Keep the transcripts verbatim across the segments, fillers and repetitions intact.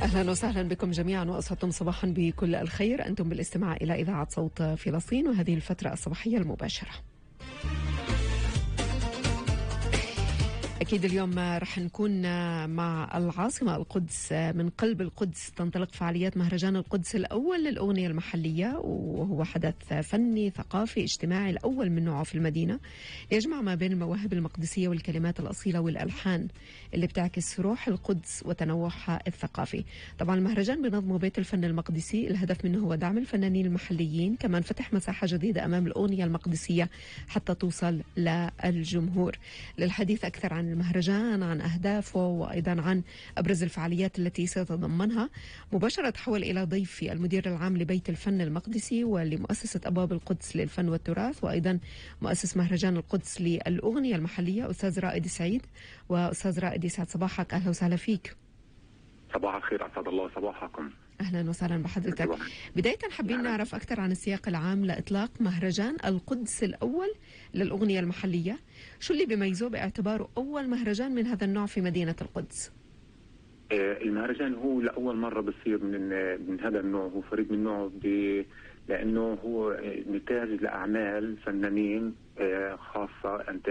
أهلا وسهلا بكم جميعا وأسعدتم صباحا بكل الخير. أنتم بالاستماع إلى إذاعة صوت فلسطين وهذه الفترة الصباحية المباشرة. أكيد اليوم رح نكون مع العاصمة القدس. من قلب القدس تنطلق فعاليات مهرجان القدس الأول للأغنية المحلية، وهو حدث فني ثقافي اجتماعي الأول من نوعه في المدينة، يجمع ما بين المواهب المقدسية والكلمات الأصيلة والألحان اللي بتعكس روح القدس وتنوعها الثقافي. طبعا المهرجان بنظمه بيت الفن المقدسي، الهدف منه هو دعم الفنانين المحليين، كمان فتح مساحة جديدة أمام الأغنية المقدسية حتى توصل للجمهور. للحديث أكثر عن المهرجان، عن أهدافه، وأيضا عن أبرز الفعاليات التي سيتضمنها، مباشرة تحول إلى ضيفي المدير العام لبيت الفن المقدسي ولمؤسسة أبواب القدس للفن والتراث، وأيضا مؤسس مهرجان القدس للأغنية المحلية، أستاذ رائد سعيد. وأستاذ رائد يسعد صباحك، أهلا وسهلا فيك. صباح الخير، أسعد الله صباحكم. أهلا وسهلا بحضرتك. بداية حابين نعرف أكثر عن السياق العام لإطلاق مهرجان القدس الأول للأغنية المحلية، شو اللي بيميزه باعتباره أول مهرجان من هذا النوع في مدينة القدس؟ المهرجان هو لأول مرة بصير من من هذا النوع، هو فريد من نوعه لأنه هو نتاج لأعمال فنانين خاصة أنت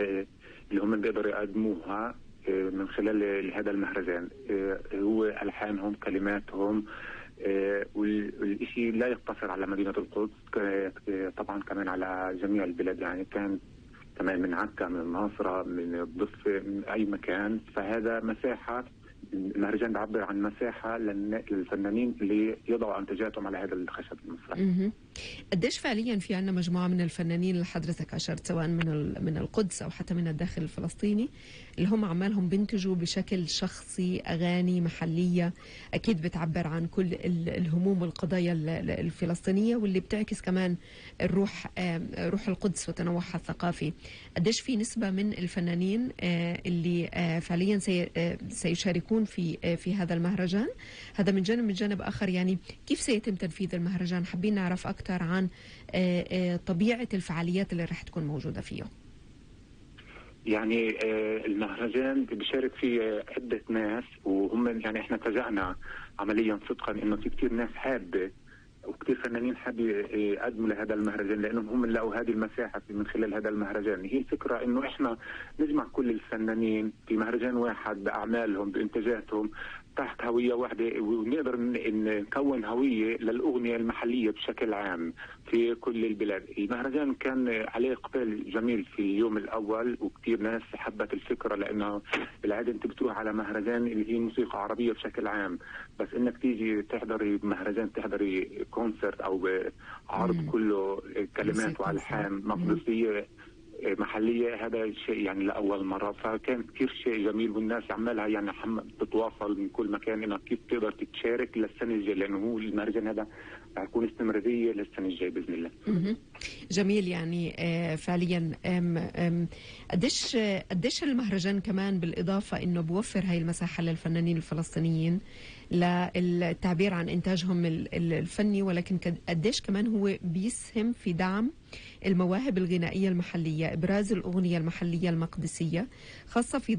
اللي هم بيقدروا يقدموها من خلال هذا المهرجان. هو ألحانهم، كلماتهم، والشيء لا يقتصر على مدينة القدس، طبعا كمان على جميع البلاد، يعني كان كمان من عكا، من الناصرة، من الضفة، من أي مكان. فهذا مساحة، المهرجان بيعبر عن مساحة للفنانين اللي يضعوا أنتاجاتهم على هذا الخشب المسرحي. قديش فعليا في عنا مجموعة من الفنانين اللي حضرتك أشرت، سواء من من القدس أو حتى من الداخل الفلسطيني، اللي هم عمالهم بينتجوا بشكل شخصي أغاني محلية أكيد بتعبر عن كل الهموم والقضايا الفلسطينية، واللي بتعكس كمان الروح روح القدس وتنوعها الثقافي. قديش في نسبة من الفنانين اللي فعليا سيشاركون في في هذا المهرجان؟ هذا من جانب. من جانب آخر، يعني كيف سيتم تنفيذ المهرجان؟ حابين نعرف أكثر عن طبيعة الفعاليات اللي رح تكون موجودة فيه. يعني المهرجان بيشارك فيه عدة ناس، وهم يعني احنا فاجأنا عمليا صدقا انه في كثير ناس حابة وكثير فنانين حابين يقدموا لهذا المهرجان، لانهم هم لقوا هذه المساحه من خلال هذا المهرجان. هي الفكره انه احنا نجمع كل الفنانين في مهرجان واحد باعمالهم بانتاجاتهم تحت هويه واحده، ونقدر نكون هويه للاغنيه المحليه بشكل عام في كل البلاد. المهرجان كان عليه اقبال جميل في اليوم الاول، وكثير ناس حبت الفكره، لانه بالعاده انت بتروح على مهرجان اللي هي موسيقى عربيه بشكل عام، بس انك تيجي تحضري مهرجان، تحضري كونسرت او عرض كله كلمات والحان مقدسيه محليه، هذا شيء يعني لاول مره. فكان كثير شيء جميل، والناس عمالها يعني بتتواصل من كل مكان انها كيف تقدر تتشارك للسنه الجايه، لانه هو المهرجان هذا حيكون استمراريه للسنه الجايه باذن الله. جميل. يعني فعليا قديش قديش المهرجان كمان بالاضافه انه بوفر هاي المساحه للفنانين الفلسطينيين للتعبير عن انتاجهم الفني، ولكن قديش كمان هو بيسهم في دعم المواهب الغنائيه المحليه، ابراز الاغنيه المحليه المقدسيه، خاصه في